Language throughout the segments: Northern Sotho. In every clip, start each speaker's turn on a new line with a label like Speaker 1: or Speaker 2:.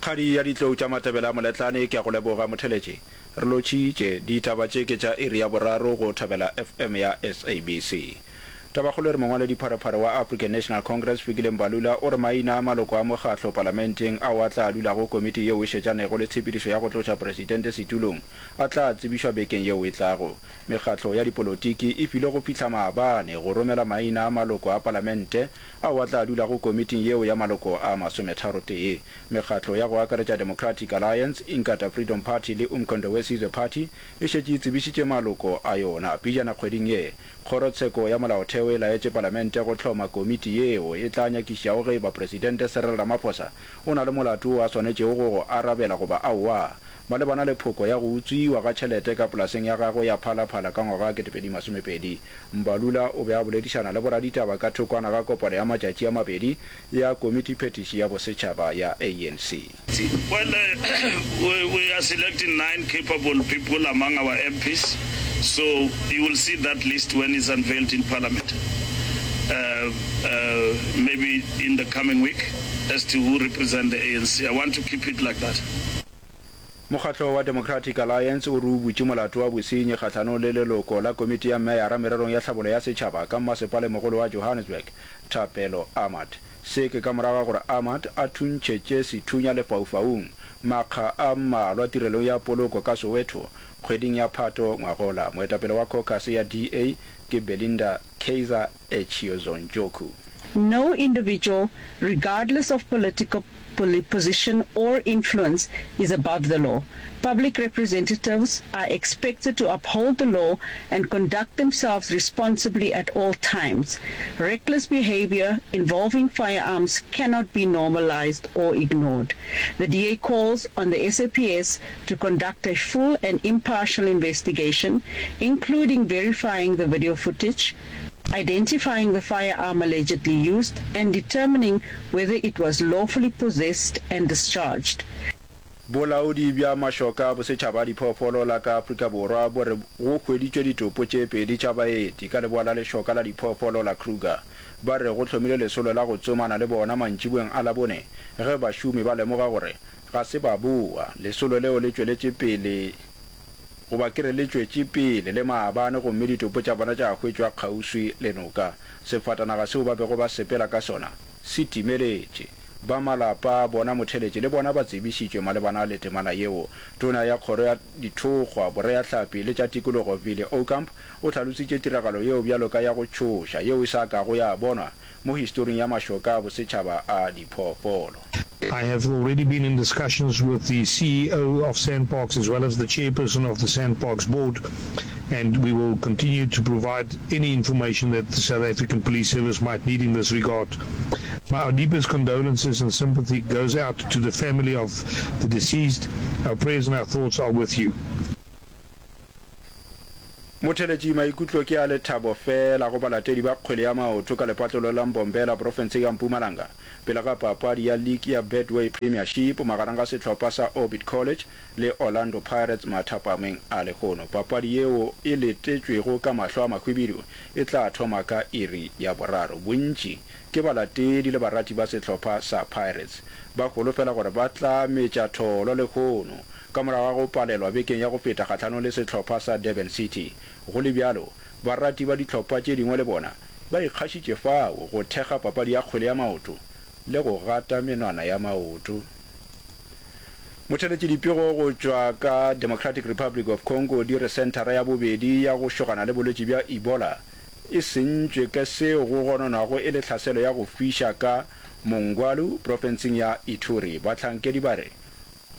Speaker 1: Kgadi ya ditlou tša Matebele a Moletlane, ke a go leboga motheletši. Re lotšhitše. Ditaba tše ke tša iri ya boraro go Thobela FM ya SABC. Tabakgolo e re mongwaledipharephare wa African National Congress Fikile Mbalula o re maina a maloko a mokgatlo palamenteng ao a tla dulago komiti yeo e šetšanego le tshepedišo ya go tloša presidente setulong a tla tsebišwa bekeng yeo e tlago. Mekgatlo ya dipolotiki e filwe go fihla maabane go romela maina a maloko a palamente ao a tla dulago komiting yeo ya maloko a masometharotee. Mekgatlo ya go akaretša Democratic Alliance, Inkatha Freedom Party le Umkhonto we Sizwe Party e šetše e tsebišitše maloko a yona. Pejana kgweding ye, Kgorotsheko ya Molaotheo e laetše Palamente go hloma komiti yeo e tla nyakišišago ge e ba Presidente Cyril Ramaphosa o na le molato wo a swanetšego go go arabela goba aowa malebana le phoko ya go utswiwa ga tšhelete ka polaseng ya gagwe ya Phala Phala ka ngwaga wa 2020. Mbalula o be a boledišana le boraditaba ka thokwana ga kopano ya matšatši a mabedi ya Komitiphethiši ya Bosetšhaba ya ANC.
Speaker 2: Well, we, we are selecting nine capable people among our MPs, so you will see that list when it's unveiled in Parliament, uh, uh, maybe in the coming week, as to who represent the ANC. I want to keep it like that.
Speaker 1: Mokgatlo wa Democratic Alliance o re o butše molato wa bosenyi kgahlanong le leloko la komiti ya meyara mererong ya tlhabollo ya setšhaba ka mmasepalemogolo wa Johannesburg, Thapelo Ahmad. Se ke ka morago ga gore Ahmad a thuntšhetše sethunya lefaufaung makga a mmalwa tirelong ya poloko ka Soweto kgweding ya Phato ngwagola. Moetapele wa khokhase ya DA ke Belinda Kaizer Echiozonjoku.
Speaker 3: No individual, regardless of political position or influence, is above the law. Public representatives are expected to uphold the law and conduct themselves responsibly at all times. Reckless behavior involving firearms cannot be normalized or ignored. The DA calls on the SAPS to conduct a full and impartial investigation, including verifying the video footage, identifying the firearm allegedly used, and determining whether it was lawfully possessed and discharged.
Speaker 1: Bolaodi bja Mašoka a Bosetšhaba a Diphoofolo la ka Afrika Borwa bo re go hweditšwe ditopo tše pedi tša baeti ka leboa la lešoka la diphoofolo la Kruger. Ba re go hlomilwe lesolo la go tsomana le bona mantšiboeng a Labone ge bašomi ba lemoga gore ga se ba boa. Lesolo leo le tšweletše pele goba ke re le tšwetše pele le maabane gomme ditopo tša bona tša hwetšwa kgauswi le noka. Sefatanaga seo ba bego ba sepela ka sona se timeletše. Ba malapa a bona motheletši le bona ba tsebišitšwe malebana le temana yeo. Tona ya Kgoro ya Dithokgwa, Boreahlapi le tša Tikologo Vili Aucamp o hlalositše tiragalo yeo bjalo ka ya go tšhoša yeo e sa kago ya bonwa mo historing ya mašoka a bosetšhaba a diphoofolo.
Speaker 4: I have already been in discussions with the CEO of SANParks as well as the chairperson of the SANParks board and we will continue to provide any information that the South African Police Service might need in this regard. My our deepest condolences and sympathy goes out to the family of the deceased. Our prayers and our thoughts are with you.
Speaker 1: Motheletši maikutlo ke a lethabo feela go balatedi ba kgwele ya maoto ka lepatlelo la Mbombela profenseng ya Mpumalanga pele ga papadi ya league ya Betway Premiership magareng ga sehlopha sa Orbit College le Orlando Pirates mathapameng a lehono. Papadi yeo e letetšwego ka mahlo a mahwibidu e tla thoma ka iri ya boraro. Bontši ke balatedi le barati ba sehlopha sa Pirates ba holofela gore ba tla metša tholo lehono ka morago ga go palelwa bekeng ya go feta kgahlanong le sehlopha sa Durban City. Go le bjalo, barati ba dihlopha tše dingwe le bona ba ikgašitše fao go thekga papadi ya kgwele ya maoto le go gata menwana ya maoto. Motheletši dipego go tšwa ka Democratic Republic of Congo di re senthara ya bobedi ya go šogana le bolwetši bja Ebola e sentšwe ke seo go gononwago e le tlhaselo ya go fiša ka Mongwalu profenseng ya Ituri. Bahlankedi ba re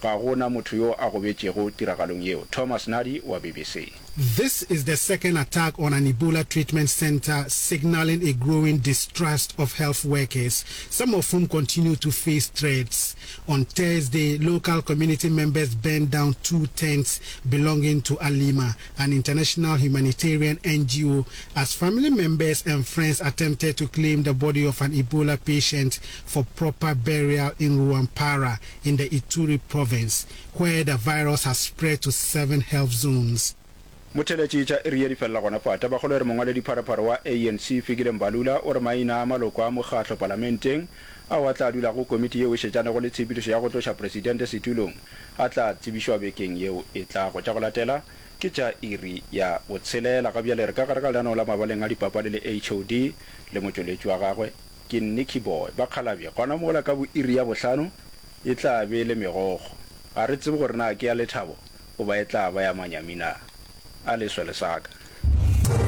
Speaker 1: Ga go na motho yo a gobetšego tiragalong yeo. Thomas Nadi wa BBC.
Speaker 5: This is the second attack on an Ebola treatment center, signaling a growing distrust of health workers, some of whom continue to face threats. On Thursday, local community members burned down two tents belonging to Alima, an international humanitarian NGO, as family members and friends attempted to claim the body of an Ebola patient for proper burial in Rwampara in the Ituri province, where the virus has spread to seven health zones.
Speaker 1: Motheeletši tša iri ye di felela gona fa. Tabakgolo e re mongwaledipharephare wa ANC Fikile Mbalula o re maina a maloko a mokgatlo palamenteng ao a tla dulago komiti yeo e šetšanego le tshepedišo ya go tloša presidente setulong a tla tsebišwa bekeng yeo e tlago. Tša go latela ke tša iri ya botshelela. Ga bjale re ka gare ga lenaneo la mabaleng a dipapadi le HOD le motšweletši wa gagwe ke Nicky Boy. Bakgalabje, gona mola ka bo iri ya bohlano e tla be e le megokgo. Ga re tsebe gore na ke ya lethabo goba e tla ba ya manyami na. A leswe lesaka.